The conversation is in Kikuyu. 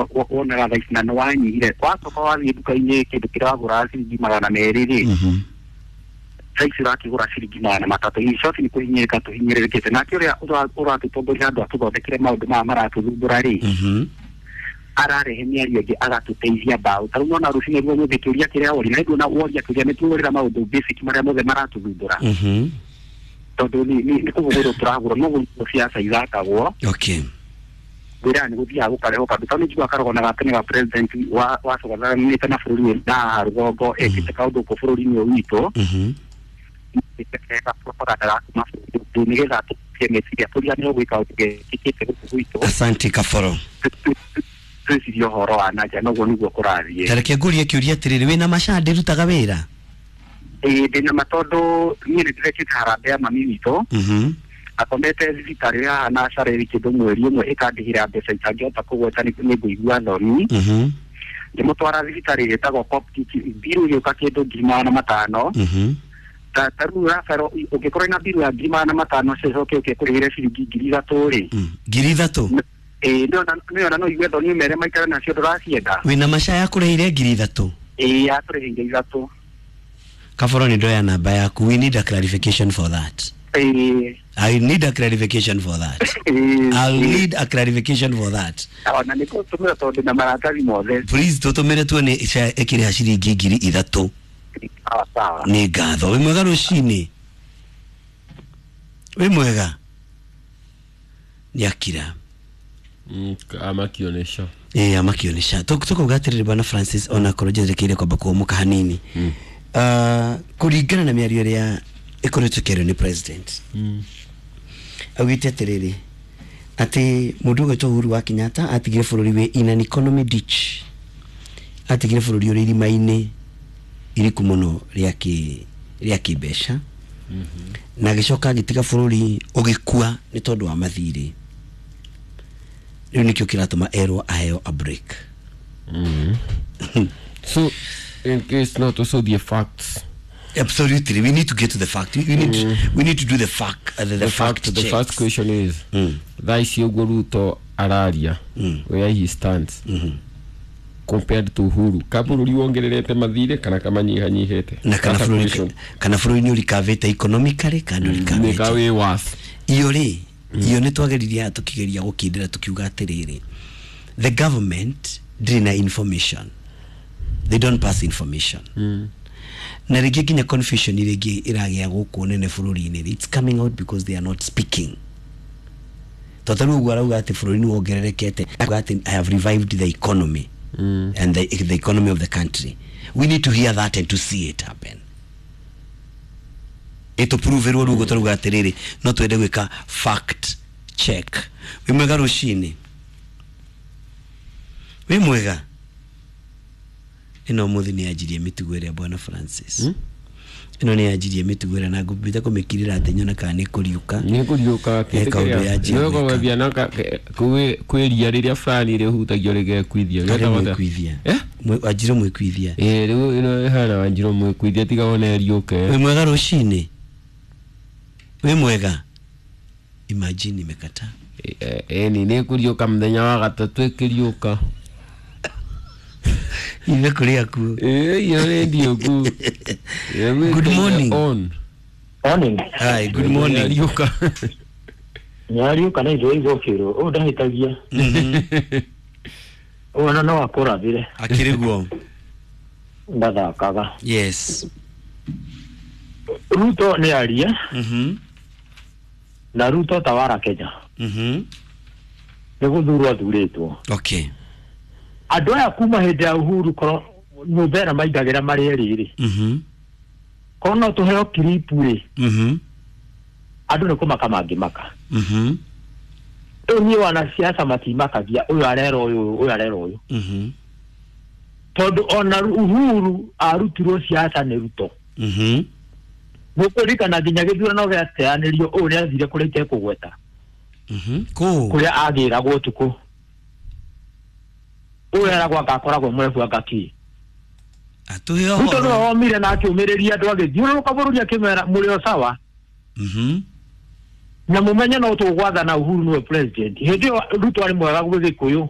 Wonaga thaa ici na nĩ wanyihire. Wacoka wathiĩ nduka-inĩ, kĩndũ kĩrĩa wagũraga ciringi 200 rĩ, thaa ici ũrakĩgũra ciringi 300. In short, nĩ kũhinyĩrĩka tũhinyĩrĩrĩkĩte. Nake ũrĩa ũratũtongoria andũ atũthondekere maũndũ maya maratũthumbũra rĩ, ararehe mĩario ĩngĩ agatũteithia mbaũ. Ta rĩu nona rũcinĩ ruo mũthĩ, kĩũria kĩrĩa woria na nduona woria kĩũria nĩ tuorĩra maũndũ basic marĩa mothe maratũthumbũra, tondũ nĩ kũhũthĩrwo tũrahũrwo no gũthwo ciaca ithakagwo. Ngwĩraga nĩ gũthiaga gũkarehwo kandũ tondũ nĩnjiguaga karogona ga tene ga president wa wacogathanĩte na bũrũri ũyũ na haha rũgongo ekĩte kaũndũ gũkũ bũrũri-inĩ ũyũ witũ, kega propaganda ga kuma bũrũri ũngĩ nĩgetha tũkie meciria tũriganĩrwo gwĩ kaũndũ gekĩkĩte gũkũ gwitũ. Asante, Kaboro. Twĩcirie ũhoro wa nanja noguo nĩguo kũrathiĩ. Tareke ngurie kĩũria atĩrĩrĩ, wĩna maca ndĩrutaga wĩra? Ĩĩ, ndĩna ma, tondũ niĩ nĩ ndĩrekĩte harambee ya mami witũ. Akomete thibitarĩ haha na careri kĩndũ mweri ũmwe, ĩkandĩhĩra mbeca itangĩhota kũgweta, nĩ ngũigua thoni. Ngĩmũtwara thibitarĩ ĩtagwo Coptic, mbiru ĩgĩũka kĩndũ 500,000. Ta rĩu Rafael, ũngĩkorwo na mbiru ya 500,000 ũcoke ũke kũrĩhĩre ciringi 3,000 rĩ? 3,000? Ĩĩ, nĩona no igue thoni mere maikare nacio ndũracienda. Wĩna maca ya kũrĩhĩre 3,000? Ĩĩ, yatũrĩhĩire 3. Kaboro, nĩ ndoya namba yaku. We need a clarification for that. I need a clarification for that. I'll need a clarification for that. Ona nĩ gũtũmĩra tondũ na maratathi mothe. Please, tũtũmĩre tuone ica ĩkĩrĩha ciringi 3,000. Sawa sawa. Nĩ ngatho. Wĩ mwega rũcinĩ? Wĩ mwega? Nĩ akira. Amakio nĩ sha. Ĩĩ, amakio nĩ sha. Tũkauga atĩrĩrĩ, bwana Francis, ona korwo njerekeire kwamba kũũmũka hanini. Kũringana na mĩario ĩrĩa ĩkoretwo ĩkĩario nĩ president, augĩte atĩrĩrĩ, atĩ mũndũ ũgwĩtwo Uhuru wa Kenyatta atigire bũrũri wĩ in an economy ditch, atigire bũrũri ũrĩ irima-inĩ iriku mũno rĩa kĩmbeca, na agĩcoka agĩtiga bũrũri ũgĩkua nĩ tondũ wa mathirĩ. Rĩu nĩkĩo kĩratũma erwo aheo a break. So in case not also the facts. Absolutely, we need to get to the fact. We need to do the fact, the fact the checks. First question is, thaa ici ũguo Ruto araria, where he stands compared to Uhuru, ka bũrũri wongererete mathirĩ kana kamanyihanyihĩte? Na kana That's a bũrũri question. kana bũrũri nĩ ũrikavĩte economically kana nĩ ũrikavĩte ka wĩ worse. Iyo rĩ, iyo nĩ twageririe tũkĩgeria gũkindĩra tũkiuga atĩrĩrĩ, the government ndĩrĩ na information, they don't pass information, na rĩngĩ nginya confusion rĩngĩ ĩragĩa gũkũ nene bũrũri-inĩ, it's coming out because they are not speaking. Tondũ rĩu ũguo arauga atĩ bũrũri nĩ wongererekete, arauga atĩ "I have revived the economy and the economy of the country." We need to hear that and to see it happen, ĩtũproverwo. Rĩu ũguo tũrauga atĩrĩrĩ, no twende gwĩka fact check. Wĩ mwega rũcinĩ? Wĩ mwega? Ĩno ũmũthĩ nĩ yanjirie mĩtugo ĩrĩa, bwana Francis, ĩno nĩ yanjirie mĩtugo ĩrĩa na ngũmbĩte kũmĩkirĩra atĩ nyone kana nĩ kũriũka. Nĩ kũriũka. He kaũndũ yanjia gwĩka. Gwĩka kwĩ ria rĩrĩa fulani rĩhutagio rĩgekuithia. Arĩ Gĩtagwo atĩa? mwĩkuithia. Eh? Wanjirũ mwĩkuithia. Ĩĩ, rĩu ĩno ĩhana Wanjirũ mwĩkuithia, tiga wone ĩriũke. Wĩ mwega rũcinĩ? Wĩ mwega? Imagine imekataa. Ĩni nĩ kũriũka mũthenya wa gatatũ ĩkĩriũka. Ithe kũrĩ akuo. Ĩĩ, iyo nĩ ndiũku. Good morning. On. Morning. Hi, good morning. Nĩariũka. Nĩariũka na ithuĩ igũkĩrwo. Ũyũ ndahĩtagia. Ũyũ ona no akũrathire. Akĩrĩ guo. Ndathakaga. Ruto nĩ arie na Ruto tawara Kenya. Nĩ gũthurwo athurĩtwo. Andũ aya kuma hĩndĩ ya Uhuru korwo nyũmba ĩrĩa maingagĩra marĩ erĩ rĩ, korwo no tũheo kiripu rĩ, andũ nĩ kũmaka mangĩmaka. Rĩu niĩ wanasiasa matimakagia, ũyũ arera ũyũ, ũyũ arera ũyũ, tondũ ona Uhuru arutirwo siasa nĩ Ruto. Nĩũkũririkana nginya gĩthurano gĩateanĩrio, ũyũ nĩ athire kũrĩa itekũgweta, Kũ? Kũrĩa agĩragwo ũtukũ, ũyũ eragwo anga akoragwo mũrebu anga kĩ. Atũhe Ruto nĩwe ũhoro. womire na akĩũmĩrĩria andũ agĩthiũrũrũka bũrũri akĩmera mũrĩ o sawa, na mũmenye no tũgwathana, Uhuru nĩwe president. Hĩndĩ ĩyo Ruto arĩ mwega gwĩ Gĩkũyũ.